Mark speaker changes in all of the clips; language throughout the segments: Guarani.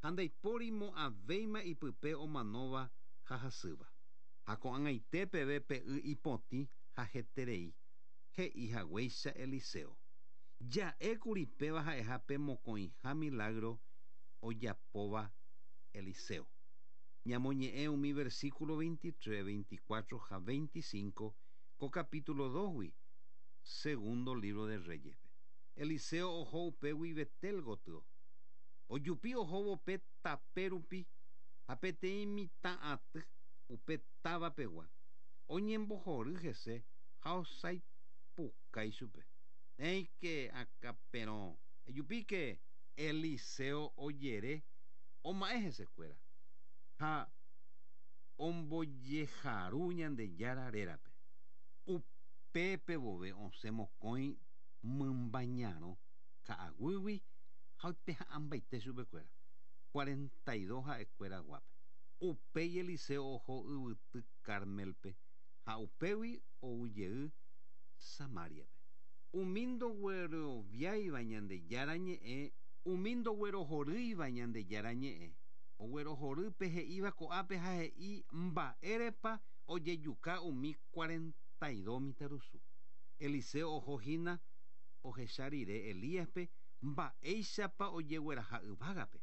Speaker 1: Ha ndaipóri mo'ãvéima ipype omanóva ha hasýva. Ha ko'ag̃aite peve pe y ipotĩ ha heterei, he'i haguéicha Eliseo. Ja'ékuri péva ha'eha pe mokõiha milágro ojapóva Eliseo. Ñamoñe'ẽ umi versículo 23, 24 ha 25 ko capítulo 2-gui, Segundo libro de Reyes-pe. Eliseo oho upégui Betel gotyo. Ojupi ohóvo pe tape rupi ha peteĩ mitã aty upe táva pegua oñembohory hese ha osaipukái chupe. Néike, akãperõ, ejupíke! Eliseo ojere oma'ẽ hesekuéra ha ombojeharu Ñandejára rérape. Upépe vove osẽ mokõi mymba ñarõ ka'aguýgui ha oipeha'ãmbaite chupekuéra, 42 ha'ekuéra guápe. Upéi Eliseo oho yvyty Cármelpe ha upégui ou jey Samáriape. Umi ndogueroviáiva Ñandejára ñe'ẽ, umi ndoguerohorýiva Ñandejára ñe'ẽ, oguerohory pe he'íva ko'ápe ha he'i mba'érepa ojejuka umi 42 mitãrusu. Eliseo oho hína ohecha rire Elíaspe mba'éichapa ojegueraha yvágape.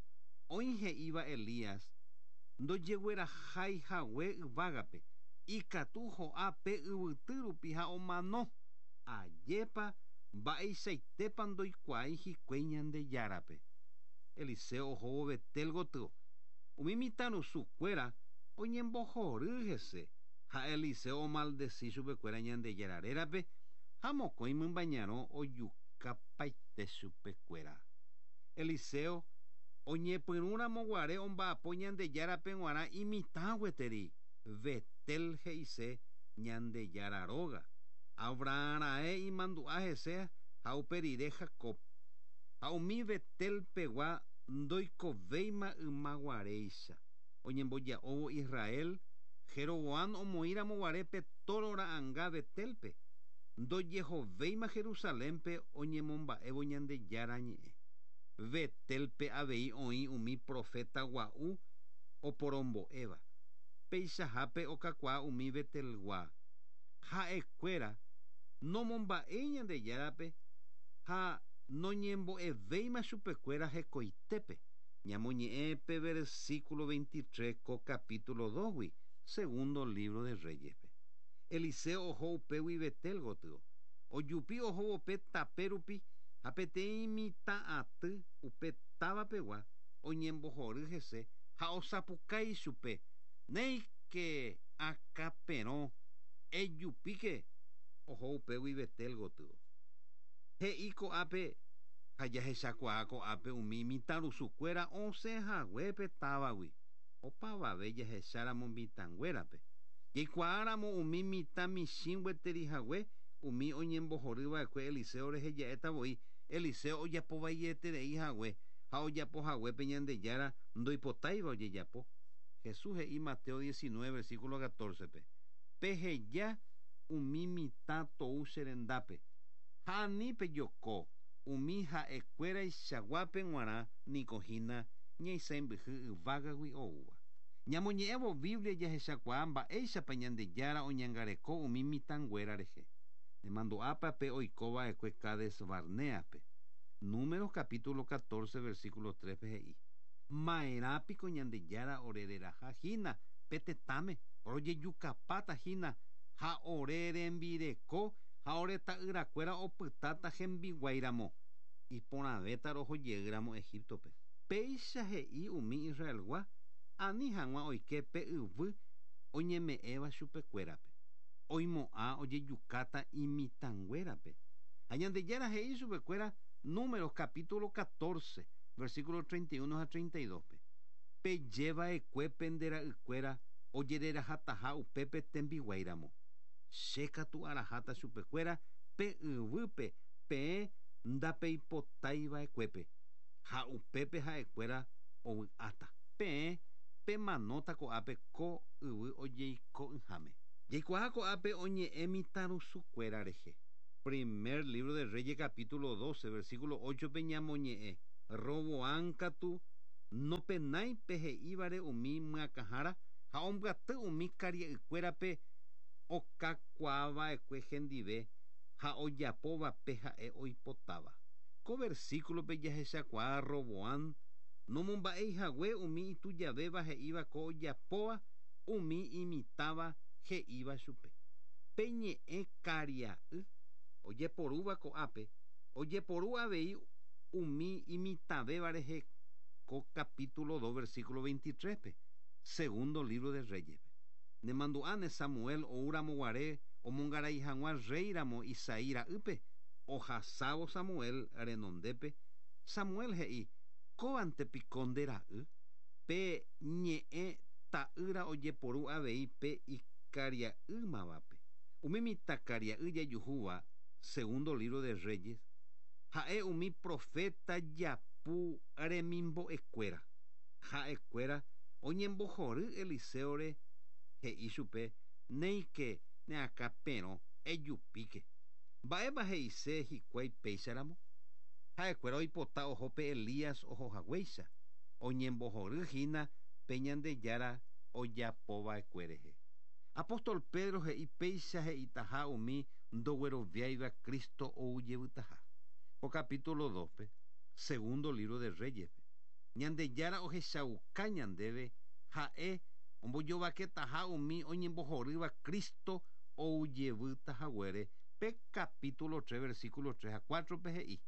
Speaker 1: Oĩ he'íva Elías ndojeguerahái hague yvágape, ikatu ho'a pe yvyty rupi ha omano. Ajépa mba'eichaitépa ndoikuaái hikuái Ñandejárape. Eliseo ohóvo Betel gotyo, umi mitãrusu kuéra oñembohory hese ha Eliseo omaldesi chupekuéra Ñandejára rérape ha mokõi mymba ñarõ ojukapaite chupekuéra. Eliseo oñepyrũramo guare omba'apo Ñandejárape g̃uarã imitã gueteri, Betel he'ise Ñandejára róga. Abraham raẽ imandu'a hese ha upe rire Jacob. Ha umi Betel pegua ndoikovéima ymaguaréicha. Oñemboja'óvo Israel, Jeroboam omoĩramo guare pe tóro ra'anga Betélpe, ndojehovéima Jerusalénpe oñemomba'évo Ñandejára ñe'ẽ. Betélpe avei oĩ umi proféta gua'u oporombo'éva. Peichahápe okakuaa umi Betelgua. Ha'ekuéra nomomba'éi Ñandejárape ha noñembo'evéima chupekuéra hekoitépe. Ñamoñe'ẽ pe versículo 23 ko capítulo 2-gui, Segundo libro de Reyes-pe. Eliseo oho upégui Betel gotyo. Ojupi ohóvo pe tape rupi ha peteĩ mitã aty upe táva pegua oñembohory hese ha osapukái chupe, Néike, akãperõ, ejupíke! Oho upégui Betel gotyo. He'i ko'ápe ha jahechakuaa ko'ápe umi mitãrusukuéra osẽ hague pe távagui. Opavave jahecháramo mitãnguérape. Jaikuaáramo umi mitã michĩ gueteri hague umi oñembohory va'ekue Eliseo rehe ja'éta voi Eliseo ojapo vaieterei hague ha ojapo hague pe Ñandejára ndoipotáiva ojejapo. Jesús he'i Mateo 19 versículo 14-pe, Peheja umi mitã tou che rendápe, ha ani pejoko umi ha'e kuéraichaguápe g̃uarã niko hína ñaisãimbyhy yvágagui oúva. Ñamoñe'ẽvo Biblia jahechakuaa mba'éichapa Ñandejára oñangareko umi mitãnguéra rehe. Nemandu'ápa pe oiko va'ekue Cades Barnéape? Números capítulo 14 versículo 3-pe he'i, Ma'erã piko Ñandejára orereraha hína pe tetãme, rojejukapáta hína ha ore rembireko ha ore ta'yrakuéra opytáta hembiguái ramo, iporãvéta roho jey ramo Egíptope. Péicha he'i umi Israelgua ani hag̃ua oike pe yvy oñeme'ẽva chupekuérape. Oimo'ã ojejukáta imitãnguérape. Ha Ñandejára he'i chupekuéra Números capítulo 14, versículo 31 ha 32-pe, Peje va'ekue pende ra'ykuéra ojererahataha upépe tembiguái ramo. Che katu araháta chupekuéra pe yvýpe peẽ ndapeipotái va'ekuépe, ha upépe ha'ekuéra ovy'áta. Peẽ pemanóta ko'ápe ko yvy ojeiko'ỹháme. Jaikuaa ko'ápe oñe'ẽ mitãrusukuéra rehe. Primer libro de Reyes capítulo 12, versículo 8-pe ñamoñe'ẽ, Roboam katu Nopenái pe he'ívare umi myakãhára ha ombyaty umi karia'ykuérape okakuaava'ekue hendive ha ojapóva pe ha'e oipotáva. Ko versíkulope jahechakuaa Roboam nomomba'éi hague umi itujavéva he'íva ko ojapóva umi imitãva he'íva chupe. Pe ñe'ẽ karia'y ojeporúva ko'ápe ojeporu avei umi imitãvéva rehe ko capítulo 2 versículo 23-pe, segundo libro de Reyes-pe. Nemandu'áne Samuel oúramo guare omongarai hag̃ua rréiramo Isaí ra'ýpe, ohasávo Samuel renondépe, Samuel he'i, Kóvante piko nde ra'y? Pe ñe'ẽ ta'ýra ojeporu avei pe ikaria'ýmavape. Umi mitãkaria'y jajuhúva Segundo libro de Reyes ha'e umi proféta japu remimbo'ekuéra. Ha'ekuéra oñembohory Eliséore he'i chupe, Néike ne akã perõ, ejupíke. Mba'épa he'ise hikuái péicharamo? Ha'ekuéra oipota oho pe Elías oho haguéicha, oñembohory hína pe Ñandejára ojapova'ekue rehe. Apóstol Pedro he'i péicha he'itaha umi ndogueroviáiva Cristo ou jevytaha. Ko capítulo 2-pe, segundo libro de Reyes-pe, Ñandejára ohechauka ñandéve ha'e ombojovaketaha umi oñembohorýva Cristo ou jevýta haguére pe capítulo 3 versículo 3 ha 4-pe he'i,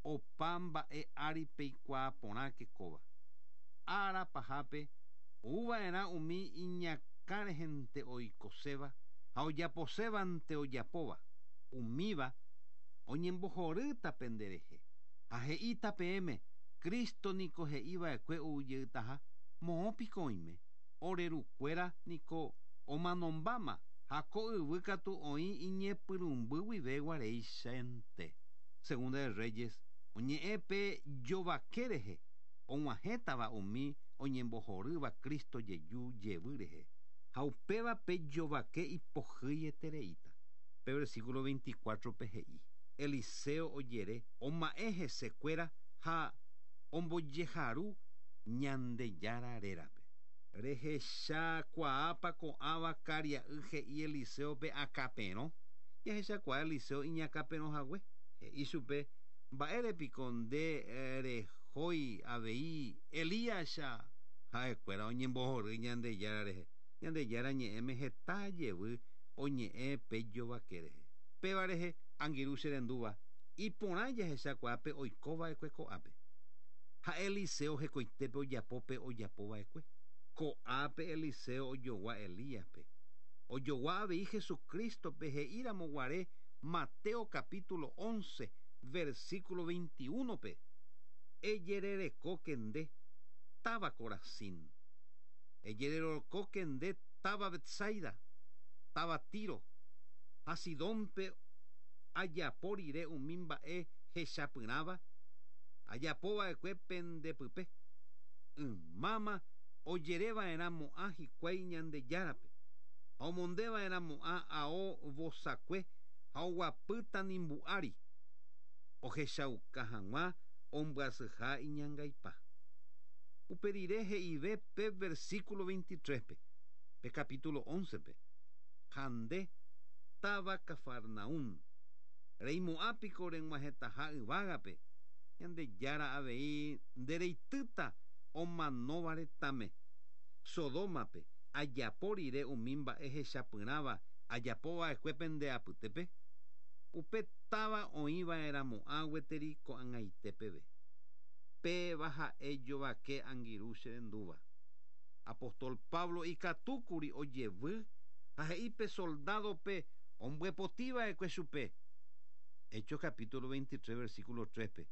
Speaker 1: Opa mba'e ári peikuaa porãke kóva. Ára pahápe ouva'erã umi iñakã rehente oikoséva ha ojaposévante ojapóva, umíva oñembohorýta penderehe ha he'íta peẽme, Cristo niko he'i va'ekue ou jeytaha, moõ piko oime? Ore rukuéra niko omanombáma ha ko yvy katu oĩ iñepyrũmby guive guaréichante. Segunda de Reyes oñe'ẽ pe jovake rehe og̃uahẽtava umi oñembohorýva Cristo jeju jevy rehe, ha upéva pe jovake ipohýietereíta. Pe versículo 24-pe he'i, Eliseo ojere, oma'ẽ hese kuéra ha ombojeharu Ñandejára rérape. Rehechakuaápa ko'ãva karia'y he'i Eliseo-pe akãperõ? Jahechakuaa Eliseo iñakãperõ hague. He'i chupe, Mba'ére piko nde rehói avei Elías-cha? Ha'ekuéra oñembohory Ñandejára rehe. Ñandejára ñe'ẽme heta jevy oñe'ẽ pe jovake rehe. Péva rehe, angirũ che rendúva, iporã jahechakuaa pe oiko va'ekue ko'ápe. Ha Eliseo hekoitépe ojapo pe ojapo va'ekue. Ko'ápe Eliseo ojogua Elíaspe. Ojogua avei Jesucrístope he'i ramo guare Mateo capítulo 11, versículo 21-pe, Ejererekóke nde, táva Corazín. Ejererekóke nde, táva Betsaida, táva Tiro ha Sidónpe ajapo rire umi mba'e hechapyrãva ajapo va'ekue pende pype, ymáma ojere va'erã mo'ã hikuái Ñandejárape, ha omonde va'erã mo'ã ao vosakue ha oguapy tanimbu ári, ohechauka hag̃ua ombyasyha iñangaipa. Upe rire he'ive pe versículo 23-pe, pe capítulo 11-pe, Ha nde, táva Cafarnaún, reimo'ã piko reg̃uahẽtaha yvágape, Ñandejára avei nde reitýta omanóva retãme. Sodómape, ajapo rire umi mba'e hechapyrãva ajapo va'ekue pende apytépe, upe táva oĩ va'erãmo'ã gueteri ko'ag̃aite peve. Péva ha'e jovake angirũ che rendúva. Apóstol Pablo ikatúkuri ojevy ha he'i pe soldádope ombyepoti va'ekue chupe. Hechos capítulo 23 versículo 3-pe,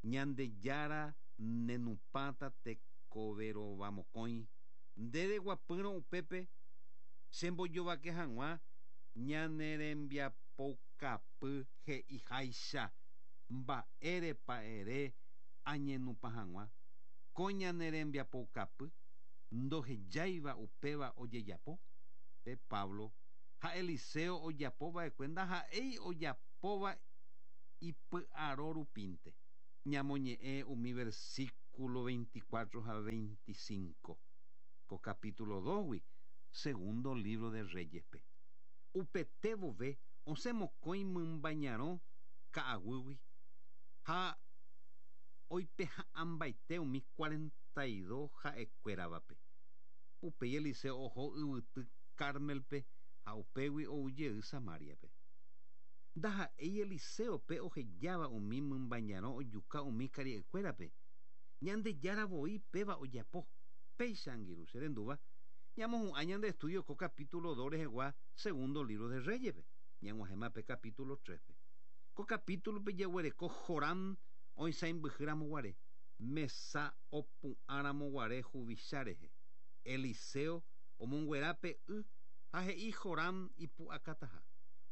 Speaker 1: Ñandejára nenupãta tekoverovamokõi, nde reguapýrõ upépe chembojovake hag̃ua ñane rembiapoukapy he'iháicha mba'érepa ere añenupã hag̃ua ko ñane rembiapoukapy ndohejáiva upéva ojejapo? Pe Pablo ha Eliseo ojapo va'ekue ndaha'éi ojapóva ipy'aro rupínte. Ñamoñe'ẽ umi versículo. versículo 24 ha 25 ko capítulo 2-gui Segundo libro de Reyes-pe. Upete vove osẽ mokõi mymba ñarõ ka'aguýgui ha oipeha'ãmbaite umi 42 ha'ekuéravape. Upéi Eliseo oho yvyty Cármelpe ha upégui ou jey Samáriape. Ndaha'éi Eliseo pe ohejáva umi mymba ñarõ ojuka umi karia'ykuérape, Ñandejára voi péva ojapo. Péicha angirũ che rendúva, ñamohu'ã ñande estudio ko capítulo 2 rehegua Segundo libro de Reyes-pe, ñag̃uahẽma pe capítulo 3-pe. Ko capítulo-pe jaguereko Joram oisãimbyhy ramo guare, mesa opu'ã ramo guare huvicha rehe. Eliseo omonguera pe y ha he'i Joram ipu'akataha.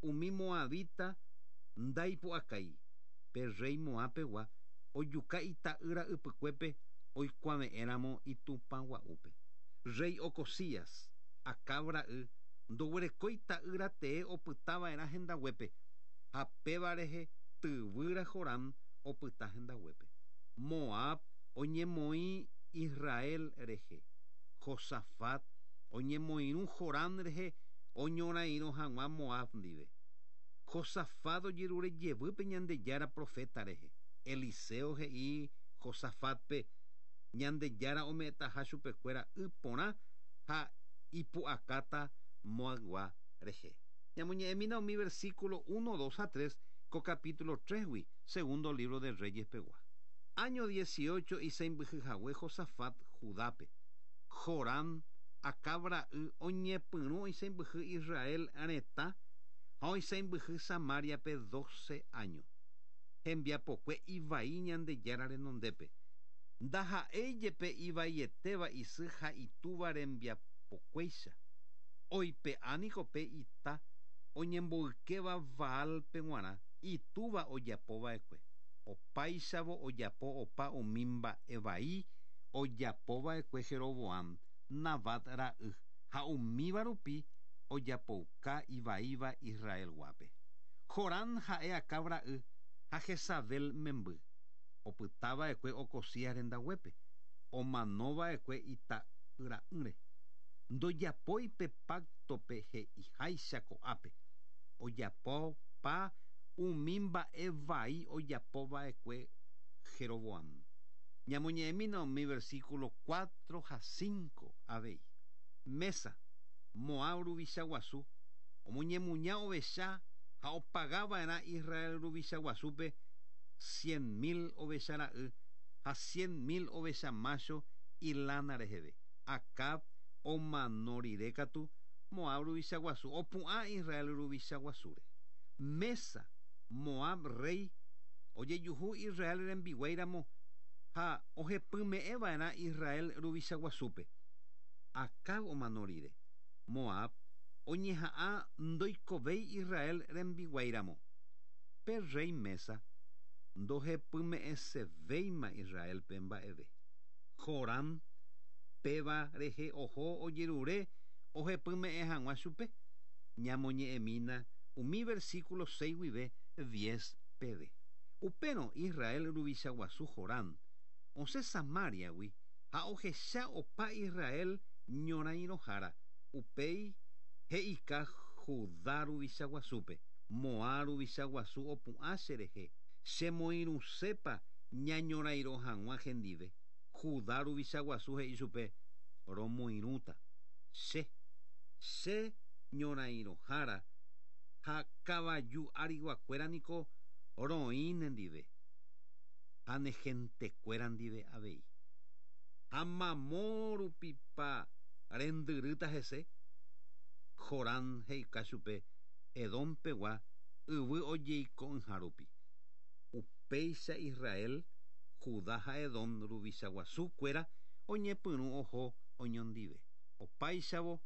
Speaker 1: Umi moabita ndaipu'akái, pe rréi Moab pegua ojuka ita'ýra ypykuépe oikuave'ẽ ramo itupã gua'úpe. Rréi Ocozías, Acab ra'y, ndoguerekói ta'ýra tee opyta va'erã hendaguépe, ha péva rehe tyvýra Joram opyta hendaguépe. Moab oñemoĩ Israel rehe. Josafat oñemoirũ Joram rehe oñorairõ hag̃ua Moab ndive. Josafat ojerure jevy pe Ñandejára proféta rehe. Eliseo he'i Josafátpe Ñandejára ome'ẽtaha chupekuéra y porã ha ipu'akáta Moabgua rehe. Ñamoñe'ẽmína umi versículo uno, dos ha tres ko capítulo trésgui Segundo libro de Reyes pegua. Áño dieciocho isãimbyhy hague Josafat Judápe, Joram, Acab ra'y, oñepyrũ oisãimbyhy Israel retã ha oisãimbyhy Samáriape doce áño. Hembiapokue ivai Ñandejára renondépe. Ndaha'éi jepe ivaietéva isy ha itúva rembiapokuéicha. Oipe'a niko pe ita oñemboykéva Baálpe g̃uarã itúva ojapo va'ekue. Opáichavo ojapo opa umi mba'e vai ojapo va'ekue Jeroboam, Nabat ra'y, ha umíva rupi ojapouka ivaíva Israel guápe. Joram ha'e Acab ra'y ha Jezabel memby, opyta va'ekue Ocozías rendaguépe, omano va'ekue ita'yra'ỹre. Ndojapói pe páctope he'iháicha ko'ápe, ojapopa umi mba'e vai ojapo va'ekue Jeroboam. Ñamoñe'ẽmína umi versículo cuatro ha cinco avei. Mesa, Moab ruvicha guasu, omoñemuña ovecha ha opaga va'erã Israel ruvicha guasúpe cien mil ovecha ra'y ha cien mil ovecha mácho ilána reheve. Acab omano rire katu, Moab ruvicha guasu opu'ã Israel ruvicha guasúre. Mesa, Moab rréi, ojejuhu Israel rembiguái ramo ha ohepyme'ẽ va'erã Israel ruvicha guasúpe. Acab omano rire, Moab oñeha'ã ndoikovéi Israel rembiguái ramo. Pe rréi Mesa ndohepyme'ẽsevéima Israélpe mba'eve. Joram péva rehe oho ojerure ohepyme'ẽ hag̃ua chupe. Ñamoñe'ẽmína umi versículo seis guive diez peve. Upérõ Israel ruvicha guasu Joram osẽ Samáriagui ha ohecha opa Israel ñorãirõhára, upéi he'ika Judá ruvicha guasúpe, Moab ruvicha guasu opu'ã che rehe, chemoirũsépa ñañorairõ hag̃ua hendive. Judá ruvicha guasu he'i chupe, Romoirũta. Che, che ñorairõhára ha kavaju ariguakuéra niko roĩ nendive, ha ne hentekuéra ndive avei. Ha mamo rupipa rendyrýta hese? Joram he'ika chupe Edom pegua yvy ojeiko'ỹha rupi. Upéicha Israel, Judá ha Edom ruvicha guasu kuéra oñepyrũ oho oñondive. Opáichavo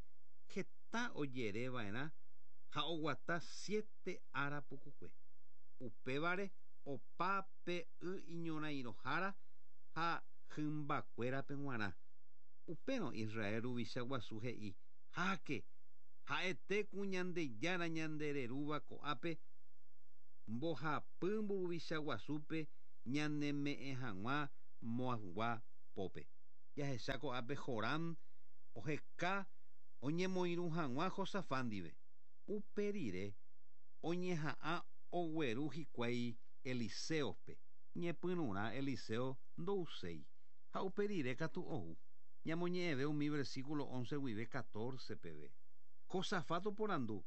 Speaker 1: heta ojere va'erã ha oguata siete ára pukukue. Upévare opa pe y iñorãirõhára ha hymbakuérape g̃uarã. Upérõ Israel ruvicha guasu he'i, Háke! Ha'ete ku Ñandejára ñande rerúva ko'ápe mbohapy mburuvicha guasúpe ñaneme'ẽ hag̃ua Moabgua pópe. Jahecha ko'ápe Joram oheka oñemoirũ hag̃ua Josafat ndive. Upe rire oñeha'ã ogueru hikuái Eliséope. Ñepyrũrã Eliseo ndouséi, ha upe rire katu ou. Ñamoñe'ẽve umi versículo 11 guive 14 peve. Josafat oporandu,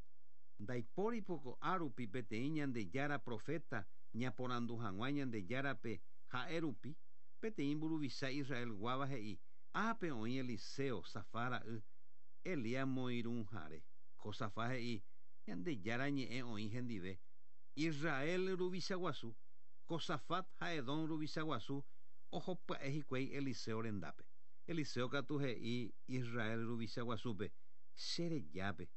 Speaker 1: Ndaipóri piko árupi peteĩ Ñandejára proféta ñaporandu hag̃ua Ñandejárape ha'e rupi? Peteĩ mburuvicha Israelguáva he'i, Ápe oĩ Eliseo, Safat ra'y, Elías moirũhare. Josafat he'i, Ñandejára ñe'ẽ oĩ hendive. Israel ruvicha guasu, Josafat ha Edom ruvicha guasu oho pya'e hikuái Eliseo rendápe. Eliseo katu he'i Israel ruvicha guasúpe, Che rejápe.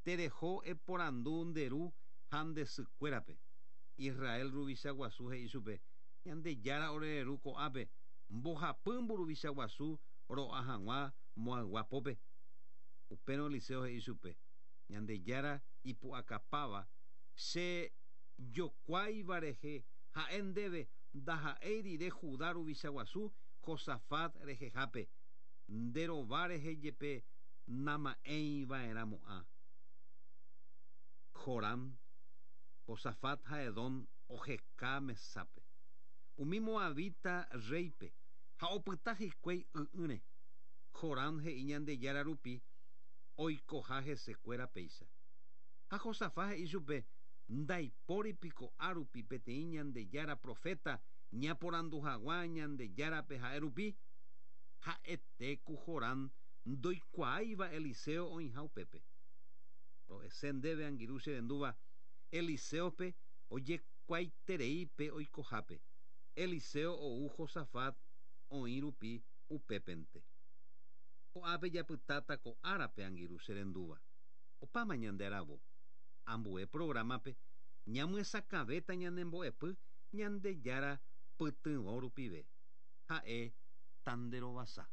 Speaker 1: Tereho eporandu nde ru ha nde sy kuérape. Israel ruvicha guasu he'i chupe, Ñandejára ore reru ko'ápe, mbohapy mburuvicha guasu ro'a hag̃ua Moabgua pópe. Upérõ Eliseo he'i chupe, Ñandejára ipu'akapáva, che jokuáiva rehe ha'e ndéve ndaha'éi rire Judá ruvicha guasu Josafat rehehápe, nde rova rehe jepe nama'ẽi va'erãmo'ã. Joram, Josafat ha Edom oheka mesápe umi moabita rréipe ha opyta hikuái y'ỹre. Joram he'i Ñandejára rupi oikoha hese kuéra péicha. Ha Josafat he'i chupe, Ndaipóri piko árupi peteĩ Ñandejára proféta ñaporandu haguã Ñandejárape ha'e rupi? Ha'ete ku Joram ndoikuaáiva Eliseo oĩha upépe. Ro'ese ndéve angirũ che rendúva, Eliséope ojekuaaiterei pe oikohápe. Eliseo ou Josafat oĩ rupi upépente. Ko'ápe japytáta ko árape angirũ che rendúva. Opáma ñande aravo. Ambue programa-pe ñamyesakãvéta ñane mbo'epy Ñandejára pytyvõ rupive. Ha'e tanderovasa.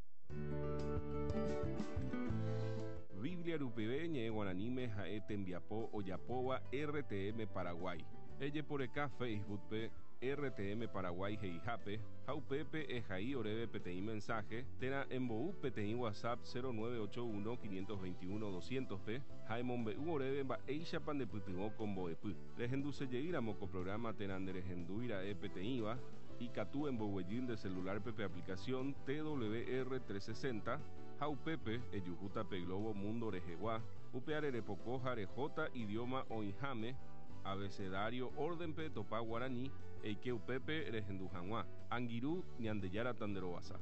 Speaker 2: Biblia rupive ñe'ẽ guaraníme ha'e tembiapo ojapóva RTM Paraguay. Ejeporeka Facebook-pe RTM Paraguay he'ihápe ha upépe ehai oréve peteĩ mensaje térã embou peteĩ WhatsApp 0981 521 200-pe ha emombe'u oréve mba'éichapa ndepytyvõ ko mbo'epy. Rehendusejeýramo ko programa térã nderehendúi ra'e peteĩva, ikatu emboguejy nde celular-pe pe aplicación TWR 360 ha upépe ejuhúta pe globo mundo rehegua, upeare repoko ha rehóta idioma oĩháme, abecedario orden-pe etopa guarani, eike upépe rehendu hag̃ua. Angirũ, Ñandejára tanderovasa.